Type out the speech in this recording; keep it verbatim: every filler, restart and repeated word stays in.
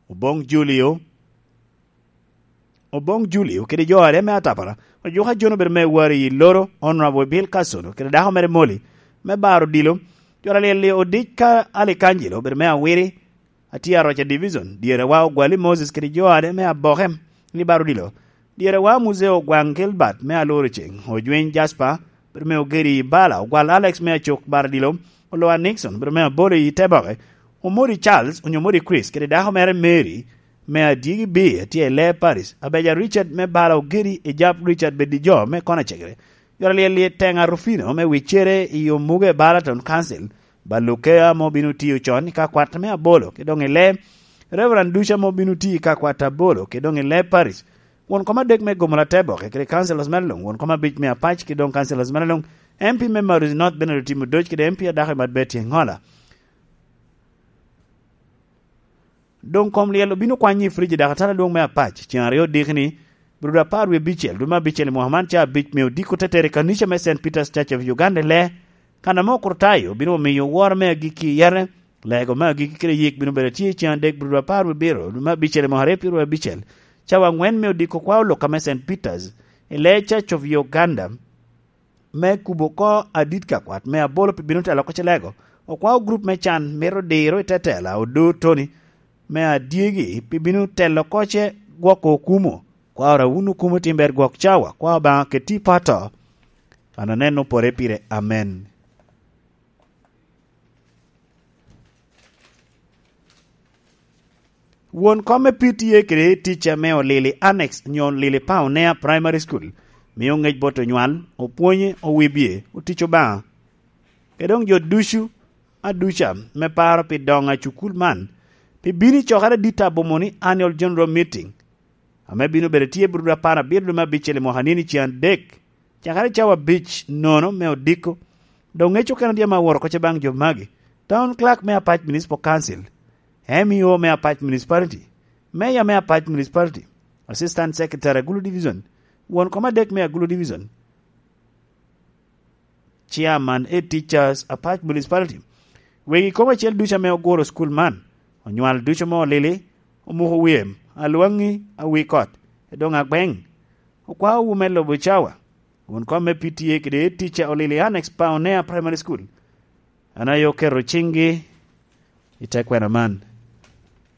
Oboŋ Julio, Oboŋ Julio kede jo aryo me atapara, ojuko ajono bedo me wari i loro, Honorable Bill Kasono kede dako mere Molly, me baro odilo. Jora lyel-li odic ka Alikangelo bedo me awiri, atye aroca Division, dyere wa Ogwali Moses kede jo aryo me aboke, ni baro odilo. Dyere wa Muzeo Ogwaŋ Gilbert me aloro ceng, Ojwiny Jasper, bedo me ogeri i Bala, Ogwal Alex me acok baro odilo, Oloa Nixon, bedo me abolo i te boke, Omori Charles, onyo Omori Chris, kede dako mere Mary, me adyegi bi, tye i Lee Paris, Abeja Richard me bala ogeri i Jap Richard Bedijo me kona cegere. Jora lyel-li Teŋa Rufino me wicere i Omuge Balaton Council, Balukea mo bino tiyo con i ka kwat me abolo, ki doŋ i Lee, Reverend Duca mo bino tiyo i ka kwat abolo, ki doŋ i Lee Paris. Won kom adek me Gomola Teboke, kede Councilors me Lung, won kom abic me Apac, ki doŋ Councilors me Lung, M P me Maruzi North Bernard Otimo Doc, kede M P adako i Madbet Yengola. Doŋ kom lyel obino kwany i Friji dok atala dwoŋ me Apac, ceŋ aryo odiki ni, Bruda apar wie abicel, dwe me abicel i mwaka man, ca abic me odiko tetere i kanica me Saint Peter's Church of Uganda i Lee, kan ame okurtayo obino omiyo woro me agikki i yete, lego me agikki kede yik bino bedo tye i ceŋ adek, Bruda apar wie abiro, dwe me abicel i mwaka aryo pyeru abicel, cawa angwen me odiko kwa olok ame Saint Peter's, i Lee Church of Uganda, me kubo oko adit ka kwat me abolo pi bino telo oko cilego. Okwao grup me can mito diro i te tela Odo Tony me adyegi pi bino telo oko ce gwoko okumo. Kwao ra wun okumo tim ber gwok cawa, kwao Obaŋa keti i pato. An aneno pore pire. Amen. Won kom me P T A kede ticca me olili Annex nyo olili Paonea Primary School mio ŋec bot onywal, opwonye, owibye, otic Obaŋa. Kede doŋ jo ducu aduca me paro pi doŋ a cukul man, pi bino i cokere adit abomo ni Annual General Meeting, ame bino bedo tye Bruda apar abiro dwe me abicel i mwaka nini ceŋ adek, cakere cawa abic nono me odiko. Doŋ ŋec okene tye ame aworo oko ce baŋ jo magi: Town Clerk me Apac Municipal Council, M E O me Apac Municipality, Mayor me Apac Municipality, Assistant Secretary Agulu Division, won kom adek me Agulu Division, Chairman Head Teachers Apac Municipality, wegi kom acel ducu ame oguro school man, onywal ducu mo olili, omuko wem, alwaŋi, awi kot, edoŋ agbeŋ. Okwao wu me lubo cawa. Won kom me P T A kede Head Teacher olili Annex Paonea Primary School. An aye oketo ciŋgi i te kwena man.